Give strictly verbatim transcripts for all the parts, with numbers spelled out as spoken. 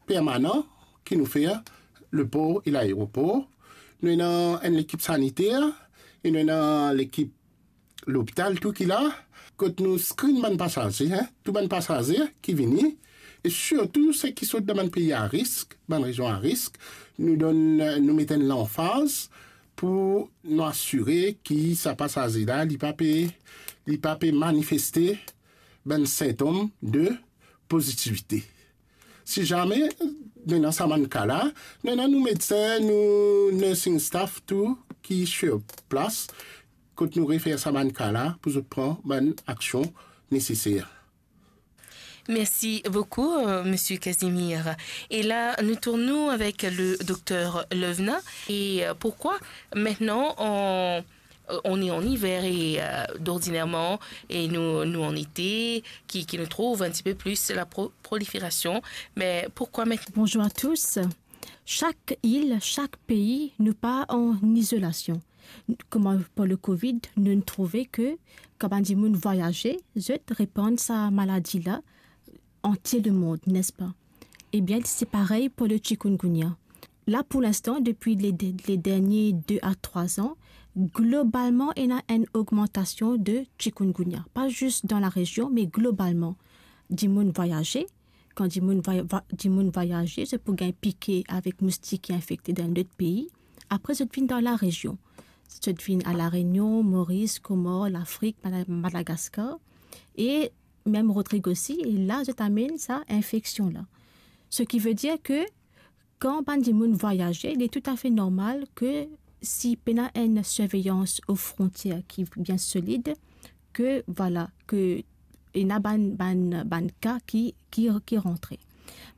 permanan ki nou fer lepor e laeropor. Nou ena enn lekip saniter e nou ena lekip lopital tou ki la, kot nou screen bann pasaze, hein, tou bann pasaze ki vini, e sirtou seki sort dan bann pei a risk, bann rezion a risk, nou donn, nou met enn lanfaz pou nou asire ki sa pasaze la, li pa pe, li pa pe manifeste bann sintom de pozitivite. Si zame nou ena sa bann ka la, nou ena nou medsin, nou nursing staff tou ki sur plas, kot nou refer sa bann ka la pou zot pran bann aksion neseser. Merci beaucoup, euh, Monsieur Casimir. Et là, nous tournons avec le docteur Levna. Et euh, pourquoi maintenant on, on est en hiver et euh, d'ordinairement, et nous, nous en été, qui, qui nous trouve un petit peu plus la pro- prolifération. Mais pourquoi maintenant? Bonjour à tous. Chaque île, chaque pays, nou pa an izolasyon. Kouma pou le covid, nou trouve ke kan bann dimoun vwayaze, zot repann sa maladi la antie lemond, nespa? Ebien, se parey pou le chikungunya. La, pou linstan, depi le, le dernie de a trwa an, globalman, ena enn ogmantasion de chikungunya. Pa zis dan la rezion, me globalman. Dimoun vwayaze, kan dimoun vwaya-, va-, dimoun vwayaze, zot pou gagn pike avek moustik ki infekte dan lot pei. Apre, zot vinn dan la rezion. Zot vinn a La Renion, Moris, Komor, Lafrik, Mada-, Madagaskar. E mem Rodrig osi, e la, zot amenn sa infeksion la. Seki ve dir ke kan bann dimoun vwayaze, li toutafe normal ke si pena enn sirveyans o frontier ki bien solid, ke, vwala, ke ena bann, bann, bann ka ki, ki, ki rantre.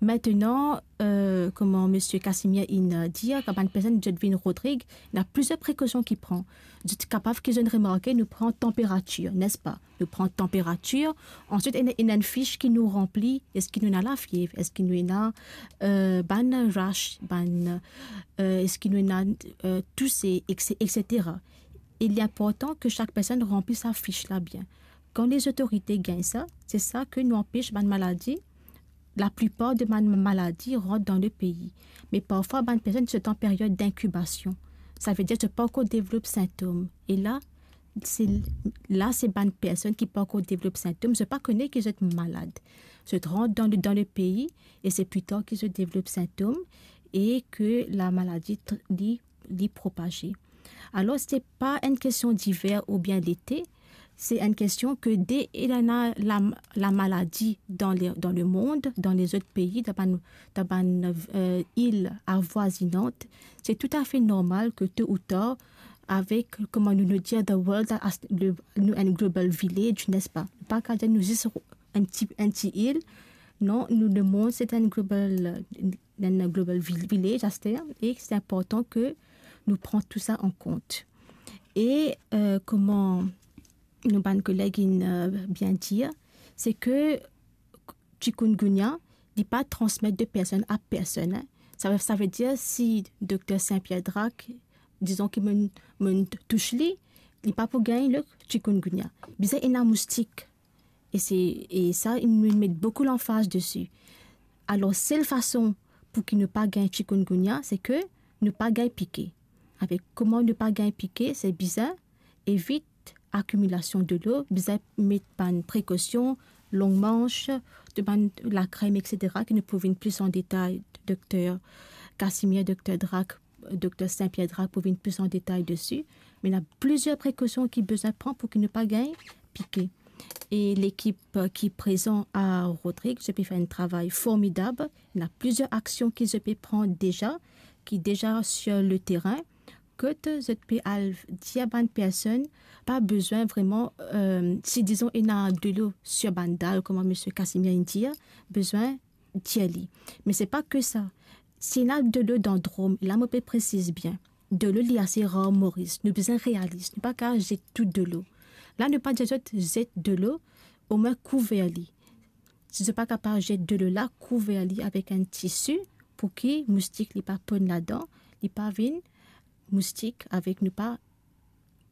Aster, euh, kouma Misie Casimir inn dir, kan bann personn zot vinn Rodrig, ena plizier prekosion ki pran. Zot kapav ki zot remarke, nou pran tanperatir, nespa? Nou pran tanperatir, answit ena, ena enn fis ki nou ranpli, eski nou ena lafiev, eski nou ena, euh, bann rash, bann, euh, eski nou ena, euh, touse, et cetera. E li inportan ke sak personn ranpli sa fis la bien. Kan lezotorite gagn sa, se sa ke nou anpes bann maladi, laplipar de bann maladi rant dan le pei. Me parfwa bann personn zot an period dinkibasion. Sa ve dir zot pa ankor devlop sintom. E la, se, la se bann personn ki pa ankor devlop sintom, zot pa kone ki zot malad. Zot rant dan le, dan le pei e se pli tar ki zot devlop sintom e ke lamaladi tr-, li, li propaze. Alor, se pa enn kestion liver oubien lete, se enn kestion ke de ena la, lamaladi dan le, dan lemond, dan lezot pei, dan bann, dan bann, euh, il avwazinant, se toutafe normal ke to ou tar, avek, kouma nou, nou dir, the world as, le, nou, enn global village, nespa? Pa kapav dir nou zis enn ti, enn ti il. Non, nou, lemond, se enn global, enn global vi-, village, aster, e se inportan ke nou pran tou sa an kont. E, euh, kouma nou bann koleg inn, euh, bien dir, se ke chikungunya, li pa transmet de personn a personn, hein. Sa, sa ve dir, si Dokter Saint-Pierre Drac, dizon ki mo'nn, mo'nn tous li, li pa pou gagn le chikungunya. Bizin ena moustik. E se, e sa, nou met boukou lanfaz desi. Alor, sel fason pou ki nou pa gagn chikungunya, se ke nou pa gagn pike. Avek kouma nou pa gagn pike, se bizin evit akimilasion delo, bizin met bann prekosion, long manch, de bann lakrem, et cetera, ki nou pou vinn plis an detay, Dokter Casimir, Dokter Drac, Dokter Saint-Pierre Drac pou vinn plis an detay desi. Me ena plizier prekosion ki bizin pran pou ki nou pa gagn pike. E lekip, euh, ki prezan a Rodrig, zot pe fer enn travay formidab. Ena plizier aksion ki zot pe pran deza, ki deza sur le terrain, kot zot pe al dir bann personn, pa bizin vreman, euh, si dizon ena delo sur bann dal, kouma Misie Casimir inn dir, bizin tir li. Me se pa ke sa. Si ena delo dan drom, la mo pe presiz bien, delo li ase rar Moris, nou bizin realis, nou pa kapav zet tou delo. La nou pa dir zot zet delo, omwin kouver li. Si zot pa kapav zet delo la, kouver li avek enn tisi pou ki moustik li pa ponn ladan, li pa vinn moustik avek nou pa,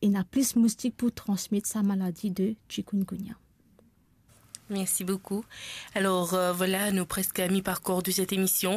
ena plis moustik pou transmet sa maladi de chikungunya. Merci beaucoup. Alors euh, voilà, nou preske a mi parkour de cette émission.